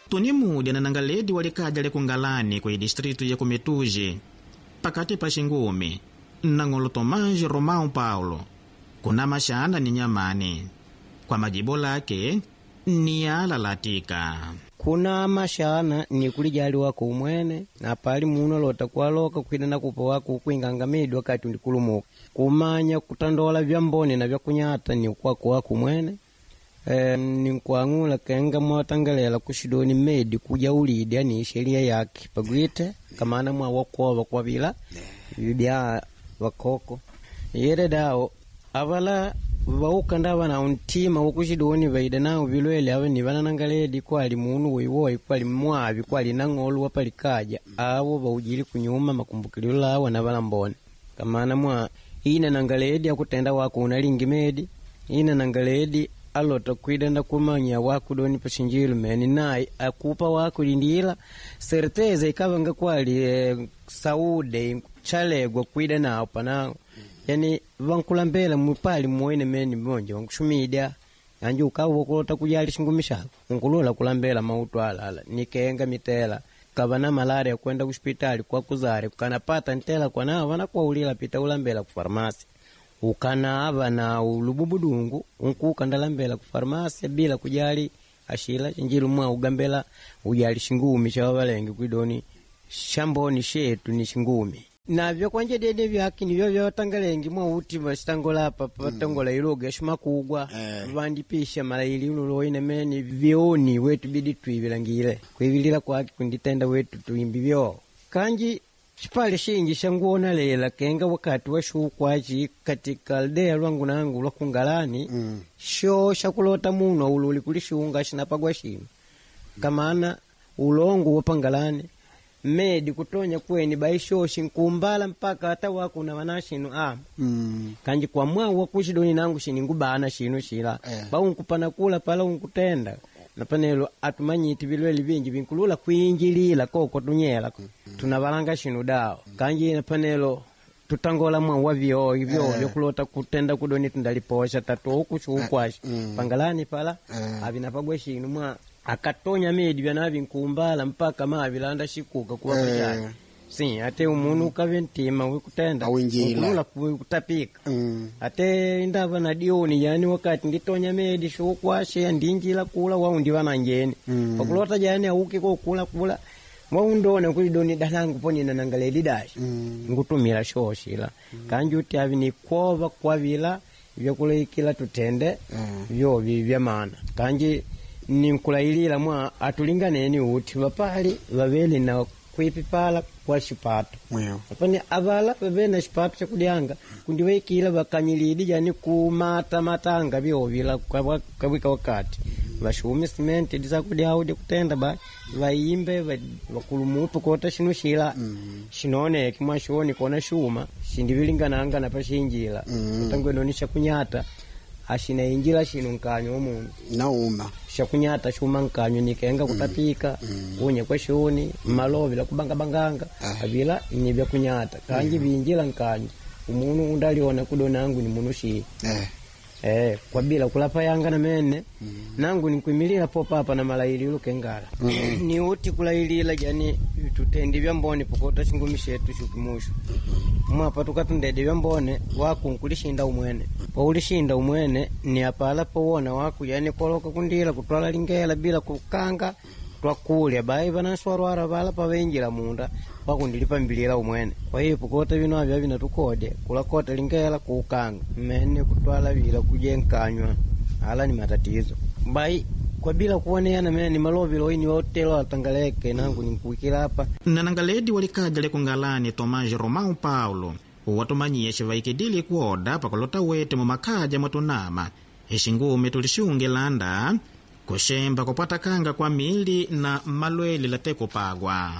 Tunimudya na nangaledi wa likaja lekungalani ku distritu ya Kumetuji pakati pa Xingumi nang'olo Tomás Romão Paulo kuna maxana ni nyamani kwa majibo lake ni alalatika kuna mashana ni kulijali wako umwene na pali muno lota kwaloka kwida na kupa wako ukwingangamidwa wakati undikulumuka kumanya kutandola vyambone na vyakunyata ni kwako wako umwene. Ninkuang'ula kenga mwatangalela kushidoni medi kuja ulidi ani sheria yake pagwite kamana mwa wakuova kwavila bya wakoko yere dao avala vaukanda vana untima wokushidoni vaida nao vilwele ava ni vananangaledi kwali munu woiwoi kwali mwavi kwali nang'olu wapalikaja avo vaujili kunyuma makumbukililo lawa na valambone kamana mwa ina nangaledi akutenda wako unalingi medi ina nangaledi alota kwida nda kumanya wakudoni pashinjilu meni naye akupa wako lindila certeza ikavanga kwali saude chalegwa kwida nawo panango yani vankulambela mupali muwene meni monje vankushumidya anji ukawa wakulota kujali shingumi shako unkulula kulambela mautu alala nikenga mitela kava na malaria kwenda kuspitali kwa kuzare kanapata ntela kwanao vanakuwaulila pita ulambela ku farmasi ukanava na ulububudungu unkuka ndalambela ku farmasi bila kujali ashila chinjilu mwa ugambela ujali shingumi cha vavalenge kwidoni shamboni shetu ni shingumi navyo kwanje dede vyaki nivyo vyawatangalengi mwa uti vacitangola apa patangola iluga shimakugwa vandipisha malaili unuloine meni vyoni wetu bidi twivilangile kwivilila kwaki kunditenda wetu tuimbi vyo kanji xipale xinji xa lela kenga wakati wa xuukwaci katika aldeya lwangu nangu lwa kungalani xo xakulota munu aululi kuli xunga xinapagwa xinu kamana ulongo wapangalani medi kutonya kweni baixoxi nkumbala mpaka ata wakuna wana xinu ama kanji kwa mwawu wakuxidoni nangu xiningubana xinu xila baunkupana kula pala unkutenda napanelo atumanyiti vilwele vinji vinkulula kwinjilila koko tunyela tunavalanga xinu dawo kanji napanelo tutangola mwa wa vyo ivyo vyokulota kutenda kudoni tundaliposha tatu xuukwaxi pangalani pala avinapagwe xinu mwa akatonya medi vyanavi nkumbala mpaka mavilanda xikuka kuvapaxai si ate umunu ukave ntima wikutenda Awinjila. ukulula kutapika ate indava na dioni yani wakati nditonya medi xuukwashe ndinjila kula waundiva na njeni pakulota jani auki kokula kula waundona kulidoni dalangu ponina nangaleli dashi ngutumila shoshila kanji uti avi nikwova kwavila vyakulaikila tutende vyovi vya maana kanji ninkulailila mwa atulinganeni uti vapali vaveli na kwipipala kwa xipato Mwewe. apani avala vave na xipato xakudyanga kundi vaikila vakanyilidi yani kumata matanga vyovila kawika wakati vaxumi simenti disakudyawo dikutenda ba vaimbe vakulumutu kota xinu xila xinoneki mwaxoni kona xuma xindivilingananga na paxinjila utangwenoni xakunyata axinainjila xinu nkanyo wa munu nauma xakunyata xuma nkanyo nikenga kutapika kunya kwa xuni malovila kubangabanganga avila ni vyakunyata kanji vinjila nkanyo umunu undaliona kudo nangu ni munu xii kwa bila kulapa yanga na mene nangu nikwimilila popapa na malaililo kengala ni uti kulailila jani tutendi vya mbone pokota xingumi xetu xukimuxu mwapa tukatundede vya mbone waku nkulishinda umwene poulishinda umwene ni apala powona waku yani koloka kundila kutwala lingela bila kukanga twakulya bai vanaswarwara vala pavenjila munda wakundilipambilila umwene kwa hiyo pokota vino avya vinatukode kulakota lingela kuukanga mmene kutwala vila kujenkanywa ala ni matatizo bai kwa bila kuoneana mene malovilo ini otelo atangaleke nangu ninkuikila apa nanangaledi walikaja lekungalani Tomás Romão Paulo watumanyiye xivaikidile kuoda pakulota wete mumakhaja mwatunama ixingume tulixungilanda kuxemba kupwatakanga kwa mili na malwele late kupagwa.